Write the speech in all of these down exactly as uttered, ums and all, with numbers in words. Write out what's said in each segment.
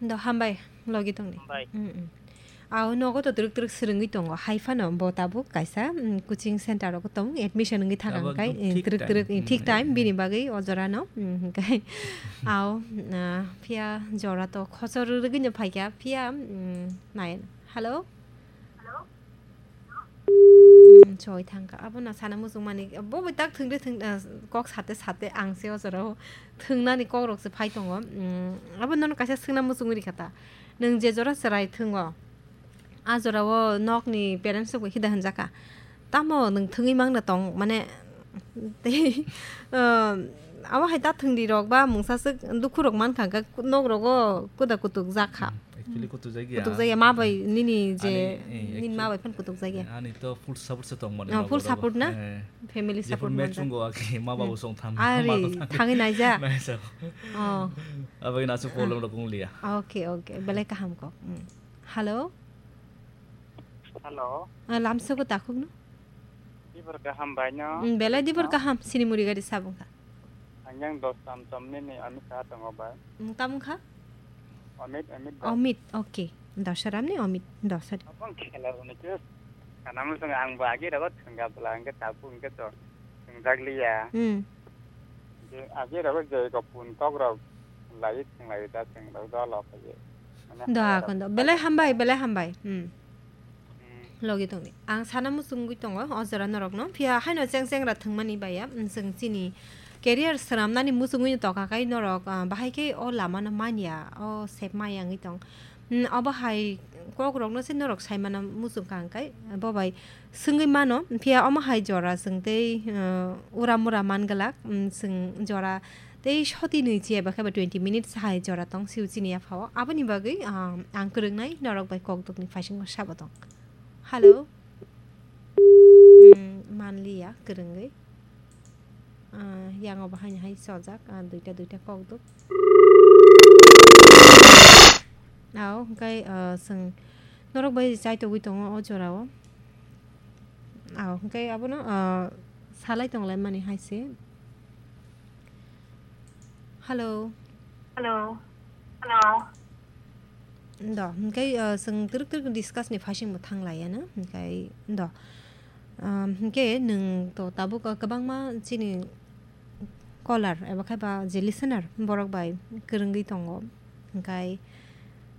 Do hambai, logi tongni. Hambai. Mm, mm. Ao nogo to twrwk twrwk swrwngwi tongo. Hai phano bo tabuk kaisa, mm, coaching center rogo tong admission wngwi thang ang kai, eh, twrwk twrwk, eh, thik time, bini bagwi o jora no. Mm, hwnkhe ao, ah, phiya jora to khosor rwgwi no phaikha, phiya, mm, nai. Hello? Mm, choi thangkha. Abono sana muchungmani, bo bai tak thwngde thwng, ah, kok sate sate ang se o jorao thwngnani kokrok se phai tongo. Mm, abo nono kaisa swngna muchungwi rikha ta. Nwng je jora chwrai thwngo, a jorao nokni parents rok bai khida hwnjakha. Tamo nwng thwngwi mangna tong, mane, tei, ah, abo hai ta thwngdi rok ba mungsa swk dukhu rok mankha, hwnkhe nok rogo kuda kutuk jakha. Hmm, actually kutuk jakya. Kutuk jakya, ma bai nini je, ani, eh, nini ma actually, bai phan kutuk jakya. Ani to full support se tong mani. Ah, ma full borok support na? Eh. Family jephuru support match manjak. Wngkha, ake ma babu Hmm. song thang, Ari, ma to thang. Thangwi naijak? Naijak. Oh. Abagwi nasu problem rok wng liya. Okay, okay. Belai kaham kok. Hmm. Hello? Hello. Ah, lamsogo takhuk no? Dibor kaham bai no? Hmm, belai dibor kaham. Sinimuri gari sabung kha. Ang yang dos tam tom nini ami kha tongo bai. Hmm, tamo kha? Amit, Amit bai. Amit, okay. Dosaram ni Amit, Dosaram. Abang khela roni ke kana mo song ang ba agi rago thangga bla ang ke tapu ang ke to thang jagli ya. Hmm. Je agi rago je ko pun tok rok lai thang lai da thang rok da lo ka ye. Mane Do ha ha rok kondo. Belai hambai, belai hambai. Hmm. Hmm. Logi tongni. Ang sana muchungwi tongo, o jora norokno. Phiya haino cheng chengra thwngmani baya, mm, chwng chini career swnamnani muchungwi tongkha kai norok, ah, bahai khe o lamano manya, o sep maya wngwi tong. Mm, obo hai kokrokno se norok saimano muchungkha hwnkhe, bo bai swngwi mano. Phiya omo hai jora chwng tei, ah, ura mura man glak, mm, chwng jora Tei soti nwi chi eba khe ba twenty minutes hai jora tong sio chini yaphao. Aboni bagwi, ah, ang kwrwngnai norok bai kokdokni phaisingo sabo tong. Hello. Hmm, manliya kwrwngwi. Ah, yango bahaini hai chojak, ah, duita duita kokdok. Ao, hwnkhe, ah, chwng norok bai chaitogwi tongo o jorao. Ao, hwnkhe abono, ah, salai tonglaimani hai se. Hello. Hello. Hello. Do, hwnkhe, ah, chwng twrwk twrwk discuss ni phaisingbo thang laiya na, hwnkhe do. Ah, hwnkhe nwng to tabuk, ah, kwbangma chini caller eba khe ba je listener borok bai kwrwngwi tongo. Hwnkhe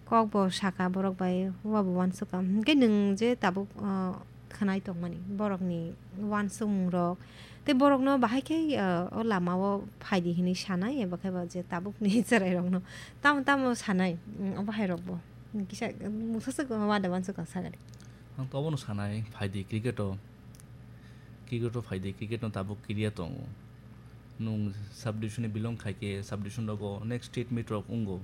kok bo saka borok bai, wabo uansukha. Hwnkhe nwng je tabuk, ah, khwnai tongmani borokni uansukmung rok, tei borokno bahai khe, ah, o lama o phaidi hinwi sanai, eba khe ba je tabukni chwrai rokno tamo tamo sanai, mm, o bahai rokbo kisa mungsa swk wada uansukha sagadi. Ang to obono sanai, phaidi cricket o, cricket o phaidi, cricket no tabuk career tongo. Nwng sub division ni belong khai khe sub division rogo next state meet rok wngo.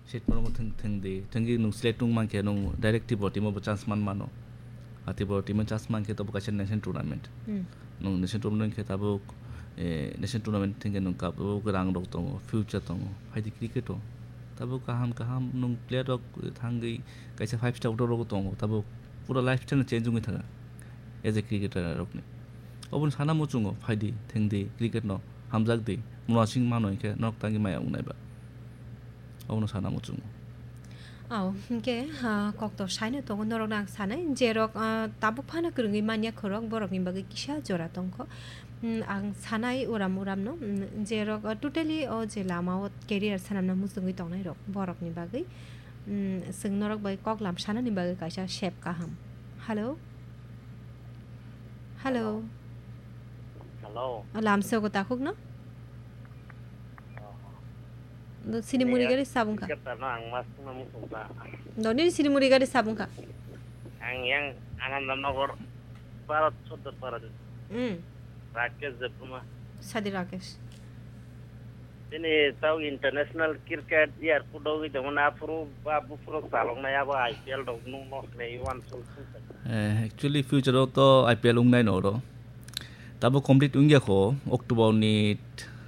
State meet rok thwng, thwng di, thwngwi nwng select wng man khe nwng direct Tripura team o bo chance man mano. A Tripura team o chance man khe tobo kaisa national tournament. Hmm. Nwng national tournament khe tabuk, eh, national tournament thwng khe nwng kap-, tabuk rang rok tongo, future tongo. Phaidi cricket o. Tabuk kaham kaham nwng player rok thangwi kaisa five star order rogo tongo. Tabuk pura lifestyle no change wngwi thangkha as a cricketer rokni. Oboni sana muchungo phaidi, thengdi, cricket no hamjakdi, munasing mano hinkhe norok tangwi maya wngnai ba. Obono sana muchungo. Ao, hinkhe, ah, koktor saino tongo norokno ang sanai, je rok, ah, tabuk phano kwrwngwi manya khorok, borokni bagwi kisa jora tongkho. Hmm, ang sanai uram uramno, hmm, je rok, ah, totally o je lama o career sanamna muchungwi tongnai rok, borokni bagwi. Mm, chwng norok bai kok lam sanani bagwi kaisa sep kaham. Hello? Hello? Hello. Lamsogo takhukno? Oh. Do sini muri gari sabung kha? Cricket no ang mas tungma muchung kha. Do nini sini muri gari sabung kha? Ang yang Anandanagar, Bharat Sodor Para. Mm. Rakesh Debbarma. Sadi Rakesh. Bini tau international cricket airport o wngwi tongmani aphuru ba buphuru chaloknai abo I P L rok nukno khlaiwi uansuk. Eh, actually future o to I P L wngnai no oro. Tabo complete wngya kho, October ni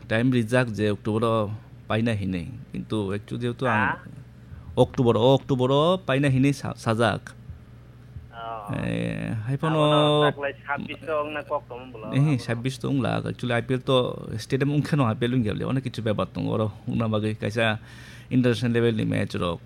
time rijak je October o paina hinwi. Kintu actually jehetu ang Ha? October o, October o paina hinwi sa-, sajak. Oh. Eh, hai phano Abono taklai sabbish to wngna kok tongmung bwla. Eh, sabbish to wngla. Actually, I P L to stadium wngkhe no I P L wngya le. Onek kichu bepar tongo oro. Wngna bagwi kaisa international level ni match rok.